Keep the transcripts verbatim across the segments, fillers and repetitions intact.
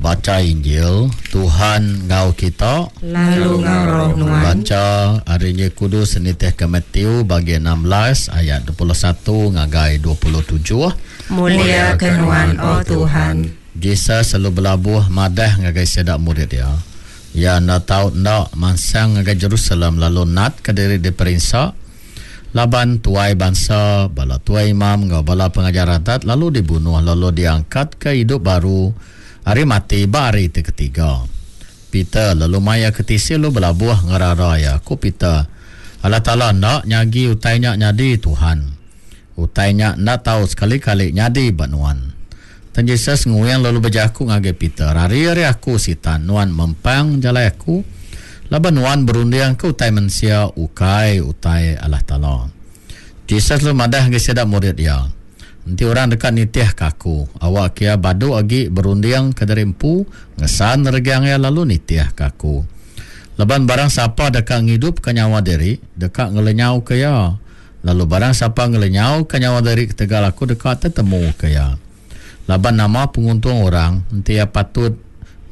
Baca Injil Tuhan ngau kita lalu ngau roh nuan. Baca hari Injil Kudus nitih ke Matthew bagi enam belas ayat dua puluh satu ngagai dua puluh tujuh. Mulia ke nuan o Tuhan. Jesus selalu belabuh madah ngagai sedak murid dia. Ya nda tau nda mansang ngagai Jerusalem lalu nat ke diri diperinsa laban tuai bangsa, bala tuai imam ngau bala pengajar adat lalu dibunuh lalu diangkat ke hidup baru hari mati ba hari ti ketiga. Peter lalu maya ke tisi lalu belabuh ngerara ya. Ku Peter, Allah Taala ndak nyagi utainya nyadi Tuhan. Utainya ndak tahu sekali-kali nyadi ba nuan. Dan Jesus nguyang lalu berjaku ngagai Peter, hari-hari aku sitan nuan mempang jalai aku laban nuan berundiang ke utai mensia ukai utai Allah Taala. Jesus lalu madah ngagai sida murid dia. Nanti orang dekat nitih ke aku, awak kia badu agi berundiang ke dari empu, ngesan regang ya lalu nitih ke aku. Laban barang siapa dekat ngidup ke nyawa diri, dekat ngelenyau ke ya. Lalu barang siapa ngelenyau ke nyawa diri ketegal aku dekat tetemu ke ya. Laban nama penguntung orang, nanti ya patut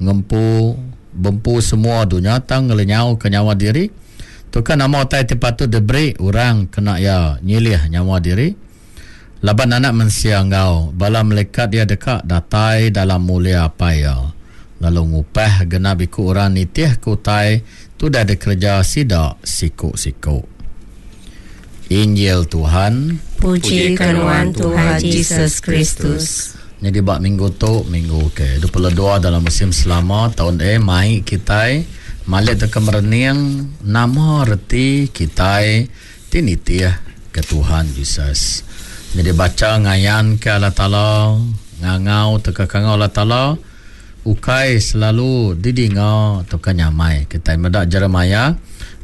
ngempu bempu semua dunia tang ngelenyau ke nyawa diri. Tu kan nama utai ti patut diberi orang kena ya nyilih nyawa diri. Laban anak mensia ngau bala malaikat dia dekat datai dalam mulia apai ya. Lalu ngupah genap iku orang nitih ke utai tu dah dikerja sida siku-siku. Injil Tuhan. Puji ke nuan Tuhan Jesus Kristus. Jadi bak minggu tu minggu ke dua puluh dua dalam musim selama tahun eh mai kitai malik teka merening nama reti kitai ti nitih ke Tuhan Jesus. Jadi baca ngayan ke Allah Taala, ngangau teka kangau Allah Taala ukai selalu didinga teka nyamai. Kitai medak Jeremiah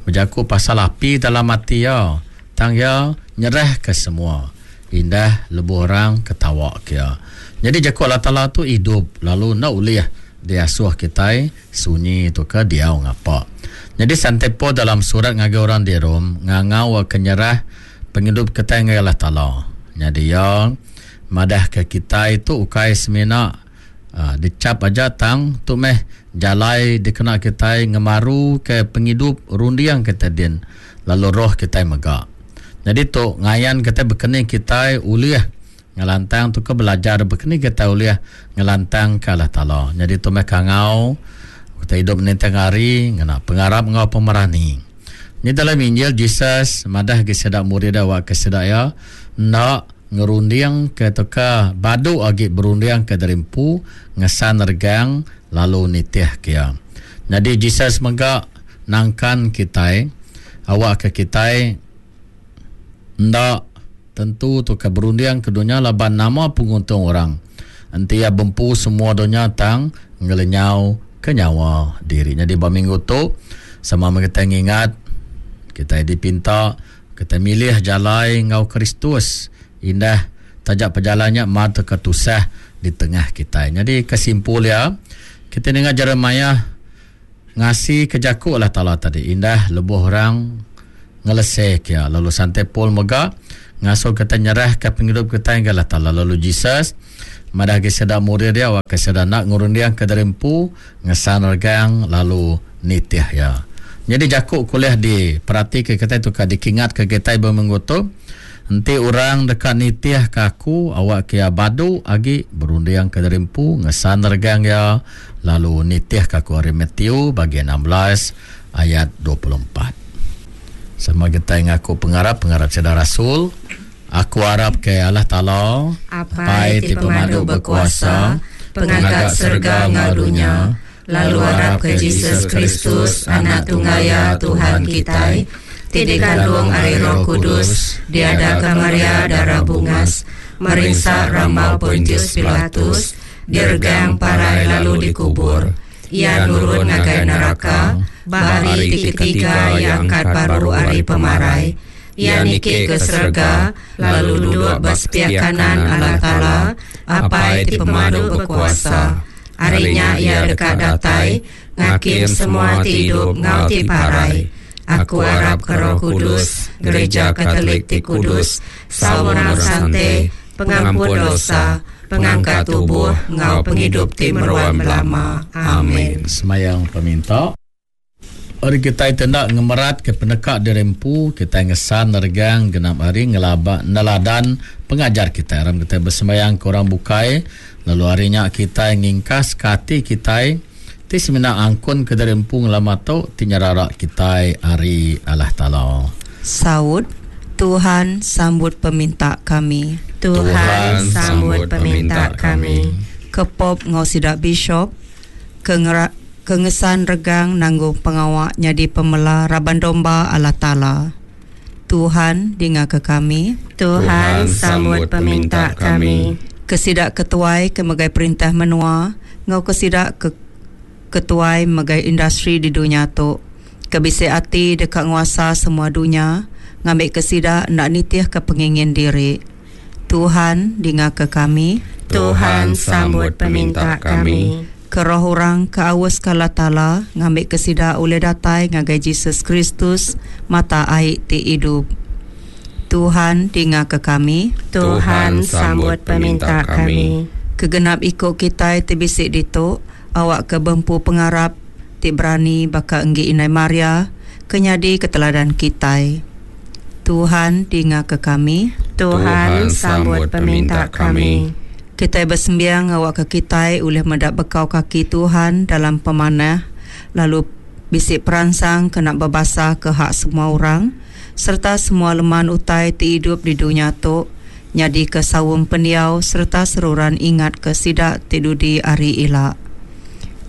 berjaku pasal api dalam hati ya, tang ya nyerah ke semua. Indah lebuh orang ketawa ke ya. Jadi jaku Allah Taala tu hidup lalu nak ulih diasuh kitai sunyi tu ke diau ngapa. Jadi santepo dalam surat ngagai orang di Rom ngangau ke nyerah penghidup kitai ngagai Allah Taala. Jadi ya madah ke kitai tu ukai semina uh, dicap aja tang tu meh jalai dikena kitai ngemaru ke penghidup rundiang kita din lalu roh kitai mega. Jadi tu ngayan kitai bekeni kitai ulih ngelantang tu ke belajar bekeni kitai ulih ngelantang ke Allah Taala. Jadi tu meh kangau kita hidup ninting hari ngena pengarap ngau pemerani. Ni dalam Injil Jesus madah ke sedak murid awak ke sedak ya nak ngerunding ke teka badu agi berunding ke derimpu ngesan regang lalu nitih ke ya. Jadi Jesus mega nangkan kitai awak ke kitai ndak tentu tu ke berunding ke dunia laban nama penguntung orang. Enti ya bempu semua dunia tang ngelenyau ke nyawa diri. Jadi ba minggu tu sama kita ngingat kita dipinta kita milih jalai ngau Kristus indah tajak perjalannya mata ketusah di tengah kita. Jadi kesimpul ya kita dengar Jeremiah ngasi ke jaku Allah Taala tadi indah lebuh orang ngelesek ya. Lalu santai Paul mega ngasuh kita nyerah ke penghidup kita yang Allah Taala. Lalu Jesus madah ke sedak murid dia awak ke sedak nak ngurundiang ke derimpu ngesan regang lalu nitih ya. Jadi jakuk kuliah di perhati ke kita tu ka dikingat ke kita berminggu tu. Enti orang dekat nitih ke aku awak kia badu agi berundiang ke derimpu ngesan regang ya lalu nitih ke aku hari Matthew bagian enam belas ayat dua puluh empat. Sama kita ngaku pengarap pengarap saudara Rasul. Aku harap ke Allah Taala Apai ti pemadu berkuasa, pengaga serga ngau dunia, lalu harap ke Jesus Kristus anak tunggal ya Tuhan kitai, ti dikandung ari Roh Kudus, diadaka Maria darah bungas, merinsa rambau Pontius Pilatus, diregang parai lalu dikubur. Ia nurun ngagai neraka, ba hari ti ketiga ia angkat baru ari pemarai. Ia niki ke serga, lalu duduk ba sepiak kanan Allah Taala, Apai ti pemadu berkuasa. Harinya ia dekat datai, ngakim semua ti hidup ngau ti parai. Aku harap ke Roh Kudus, Gereja Katolik ti Kudus, saurang sante, pengampun dosa, Pengangkat tubuh ngau pengidup ti meruan belama. Amin. Semayang peminta. Hari kita tindak ngemerat ke penekak dirempu, kita ngesan regang genap hari ngelaba neladan pengajar kita. Aram kita bersemayang ke orang bukai, lalu harinya kita ngingkas ke hati kita ti semina angkun ke dirempu ngelama tu ti nyerarak kita hari Allah Taala. Saud, Tuhan sambut peminta kami. Tuhan, Tuhan sambut peminta kami. Kepop ngau sidak bishop ke ngera kengesan regang nanggung pengawak nyadi pemela raban domba Allah Taala. Tuhan dengar ke kami. Tuhan sambut peminta kami. Kesidak ketuai ke megai perintah menua, ngau kesidak ke ketuai megai industri di dunia tu. Kebisi ati dekat nguasa semua dunia, ngambil kesidak nak nitih ke pengingin diri. Tuhan dengar ke kami. Tuhan sambut peminta kami. Keroh orang ke awas kala tala ngambil kesida oleh datai ngagai Jesus Kristus mata air ti hidup. Tuhan dengar ke kami. Tuhan sambut peminta kami. Kegenap ikut kita ti bisik ditu awak ke bempu pengarap ti berani baka enggi Inai Maria kenyadi keteladan kita. Tuhan dengar ke kami. Tuhan sambut peminta kami. Kita bersembiang awak ke kita oleh mendak bekau kaki Tuhan dalam pemanah lalu bisik peransang kena berbasa ke hak semua orang serta semua leman utai ti hidup di dunia tu nyadi ke sawung pendiau serta seruran ingat ke sidak ti dudi ari ila.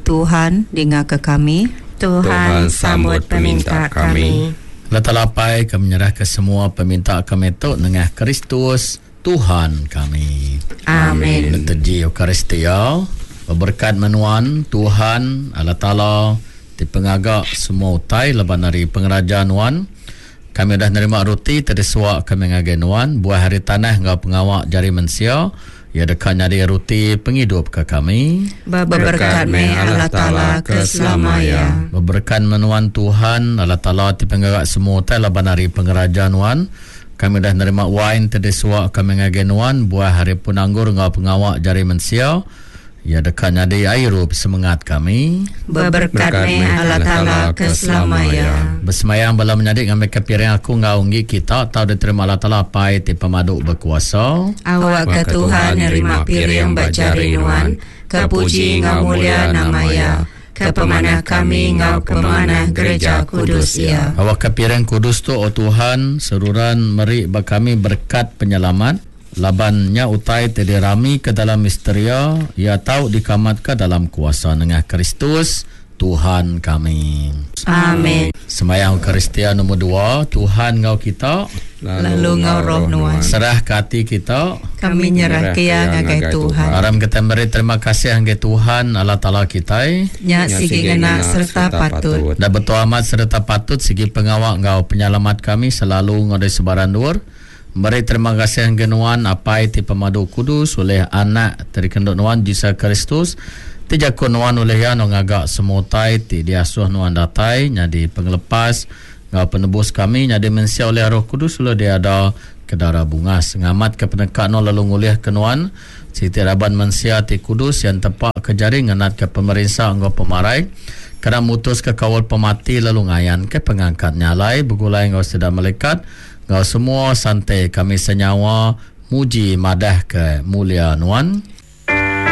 Tuhan dengar ke kami. Tuhan sambut peminta kami. Letalapai kami menyerah ke semua peminta kami tu nengah Kristus Tuhan kami. Amin. Liturgi Eucharistia berkat menuan Tuhan Allah Taala ti pengagak semua utai leban dari pengeraja nuan. Kami dah nerima roti terdisuak kami ngagai nuan buah hari tanah ngau pengawak jari mensia ia dekat nyari roti penghidup ke kami. Berkat me Allah Taala ke selamanya. Berkat menuan Tuhan Allah Taala ti pengagak semua utai leban dari pengeraja nuan. Kami dah nerima wine terdisuak kami ngagai nuan buah hari pun anggur ngau pengawak jari mensia ia dekat nyadi airup semangat kami. Berkat me Allah Taala ke selamanya. Bersemayang bala menyadik ngambil ke piring aku ngau unggi kita tau diterima Allah Taala pai ti pemaduk berkuasa. Awak ke Tuhan nerima piring bajari nuan kepuji ngau mulia nama ya. Ke pemanah kami ngau pemanah gereja kudus ya. Awak ke piring kudus tu o Tuhan seruran meri ba kami berkat penyelamat labannya utai terdirami ke dalam misteria ia tau dikamat ke dalam kuasa nengah Kristus Tuhan kami. Amin. Semayang Eucharistia nombor dua, Tuhan ngau kita lalu ngau roh nuan. Serah ke hati kita kami nyerah ke ya ngagai Tuhan. Aram kita beri terima kasih ngagai Tuhan Allah Taala kita. Nya sigi ngena serta patut. Dan betul amat serta patut sigi pengawak ngau penyelamat kami selalu ngau dari sebaran luar. Beri terima kasih ngagai nuan apai ti pemadu kudus oleh anak terikenduk nuan Jesus Kristus. Ti jakun nuan oleh ya no ngagak semua utai ti diasuh nuan datai nyadi pengelepas ngau penebus kami nyadi mensia oleh Roh Kudus oleh dia ada kedara bungas ngamat ke penekak no lalu ngulih ke nuan siti raban mensia ti kudus yang tepak ke jari ngenat ke pemerintah ngau pemarai kena mutus ke kawal pemati lalu ngayan ke pengangkat nyalai begulai ngau sedar malaikat ngau semua santai kami senyawa muji madah ke mulia nuan.